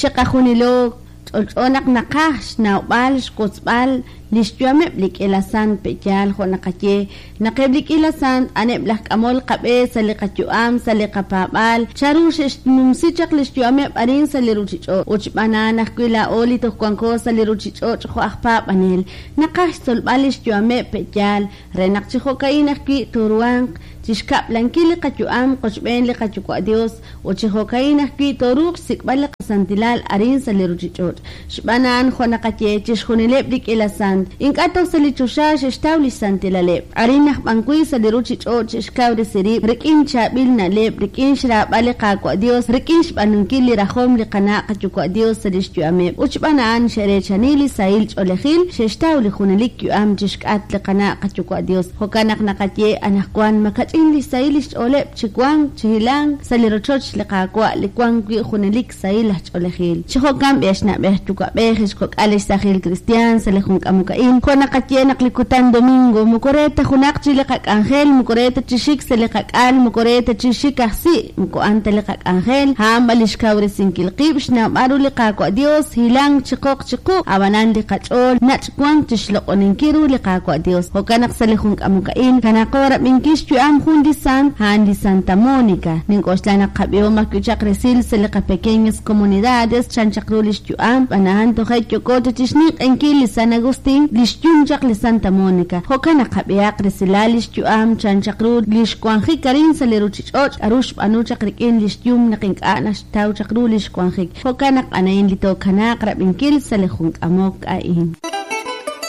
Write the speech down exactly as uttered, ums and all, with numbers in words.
Chiqajunilo ch'olch'o naq naqaj xnawb'al xwotzb'al li xyu'ameb' li k'iila sant. Pe'yaal jo' naqaye naq eb' li k'iila sant a'aneb' laj k'amol qab'e sa' li qayu'am, sa' li qapaab'aal, chanru xe'xnumsi chaq li xyu'ameb' arin sa' li ruuchich'och'? Ut xb'aan a'an ajwi' laa'o li toj wanko sa' li ruuchich'och' jo' aj paab'anel naqaj xtzolb'al li xyu'ameb'. Pe'yaal? Re naq chi jo'ka'in ajwi' tooruhanq chi xkab'lankil li qayu'am qochb'een li Qayuwa' Dios, ut chi jo'ka'in ajwi' tooruuq xsik'b'al li qasantilal arin sa' li ruuchich'och'. Xb'aan a'an jo' naqaye, chixjunileb' li k'iila sant ink'a' toj sa' li choxa xe'xtaw li xsantilaleb', arin aj b'an wi' sa' li ruuchich'och' xe'xkawresi rib' rik'in chaab'il na'leb', rik'in xraab'al li Qaawa' Dios, rik'in xb'aanunkil li rajom li qana' Qayuwa' Dios sa' li xyu'ameb', ut xb'aan a'an xe'reechani li sahil ch'oolejil, xe'xtaw li junelik yu'am chixk'atq li qana' Qayuwa' Dios. Jo'kan naq naqaye anaqwan makach'in li xsahil li xch'ooleb' chi wank chi hilank sa' li rochoch li Qaawa' li wank wi' junelik sahil aj ch'oolejil. Chi jo'kan b'i, na'b'ej yuwa'b'ej, ex kok'al, ex saajil kristiaan, sa' li jun k'amok a'in jo' naqaye naq li kutan domingo moko re ta junaq chi li qak'anjel, moko re ta chi xik sa' li qak'al, moko re ta chi xik aj si', moko a'an ta li qak'anjel, a'an b'an li xkawresinkil qib' xnawb'al ru li Qaawa' Dios, hilank chi qoq chi quq', ab'anan li qach'ool nach' wank chi xloq'oninkil ru li Qaawa' Dios. Jo'kan naq sa' li jun k'amok a'in kanaqo rab'inkil xyu'am jun li sant, a'an li Santa Mónica. Nink'oxla naq qab'ihom ajwi' chaq resil sa' li qapequeñas comunidades chan chaq ru li xyu'am, b'an a'an toje' yoko chi xninq'enkil li San Agustín, li xyum chaq li Santa Mónica. Jo'kan naq qab'ihaq resilal li xyu'am chan chaq ru li xwanjik arin sa' li ruuchich'och', k'aru xb'aanu chaq rik'in li xyum naq ink'a' naxtaw chaq ru li xwanjik. Jo'kan naq anahin li tookanaaq rab'inkil sa' li jun k'amok a'in.